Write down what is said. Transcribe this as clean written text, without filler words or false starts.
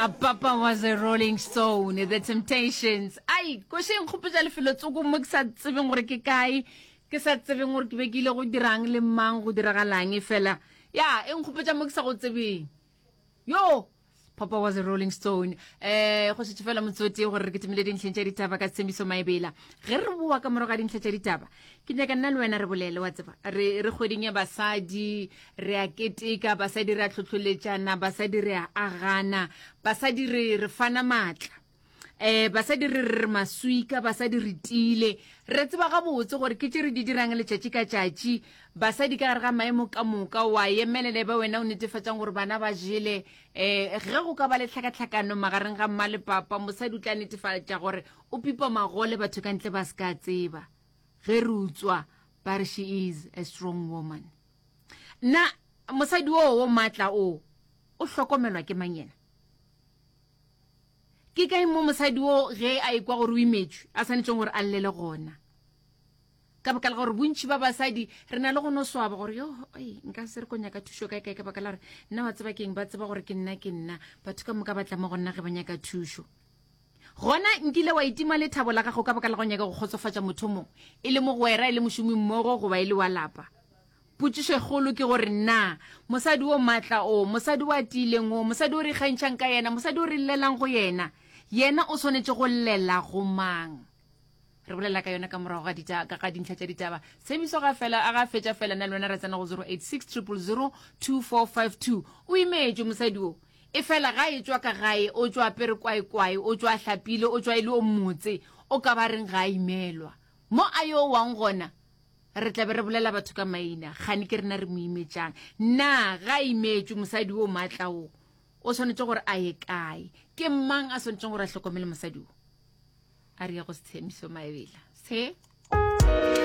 A Papa was a Rolling Stone, The Temptations. Ai, koše nkgopotša lefelo tsoko mo ke sa tsebeng gore ke kae, ke sa tsebeng gore ke be ke ile go dirang le mang go diragalang e fela. Ya, e nkgopotša mo ke sa go tsebeng. Yo, Papa was a Rolling Stone. Eh, go šetše fela motsotsi gore re ketemile dintlheng tša ditaba ka Tshemiso Maebela. Ge re boa ka morago ga dintlha tša ditaba, ke nyaka nna le wena re bolele wa tseba. Re re kgweding ya basadi, re a keteka, basadi re a hlohloletšana, basadi re a agana, basadi re re fana maatla. Eh, basadi re re maswika, basadi re tiile. Re tseba gabotse gore ke tše re di dirang letšatši ka tšatši. Basadi ka gare ga maemo ka moka, wa emelela e ba wena o netefatšang gore bana ba jele. Eh, ge go ka ba le tlhakatlhakano magareng ga mma le papa, mosadi o tla netefatša gore o pipa magole batho ka ntle ba se ka tseba. Ge re utswa, ba re she is a strong woman. Na mosadi oo wo maatla o, o hlokomelwa ke mang yena? Ke kae mo mosadi wo ge a ekwa gore o imetšwe a swanetšeng gore a llele gona? Ka baka la gore bontši ba basadi re na le go no swaba gore yo ei nka se re ko nyaka thušo kae kae ka baka la gore nna wa tseba keng ba tseba gore ke nna ke nna batho ka moka ba tla mo go nna ge ba nyaka thušo. Gona nkile wa itima lethabo la gago ka baka la go nyaka go kgotsofatša motho mongwe e le mogwera e le mošomimmogo goba e le wa lapa. Potšišo e kgolo ke gore, Na mosadi o matla o, mosadi o a tiileng o, mosadi o re ikgantšhang ka yena, mosadi o re llelang go yena, yena o swanetše go llela go mang? Re bolela ka yona ka morago ga dita, ka ga dintlha tša ditaba. Tshepiso ga fela, a ga fetša fela, na le wena ra tsena go 086 000 2452. O imetšwe mosadi o. E fela ga e tšwa ka gae, o tšwa apere kwaekwae, o tšwa a hlapile, o tšwa e le o motse, o ka ba reng ga a imelwa. Mo a yo wang gona, Re tla be re bolela batho ka maina, kgane ke rena re mo imetšang. Na ga a imetšwe mosadi o maatla wo? O swanetše gore a ye kae? Ke mang a swanetšeng gore a hlokomele mosadi wo? A re ye go Sethemiso Maebela. Se.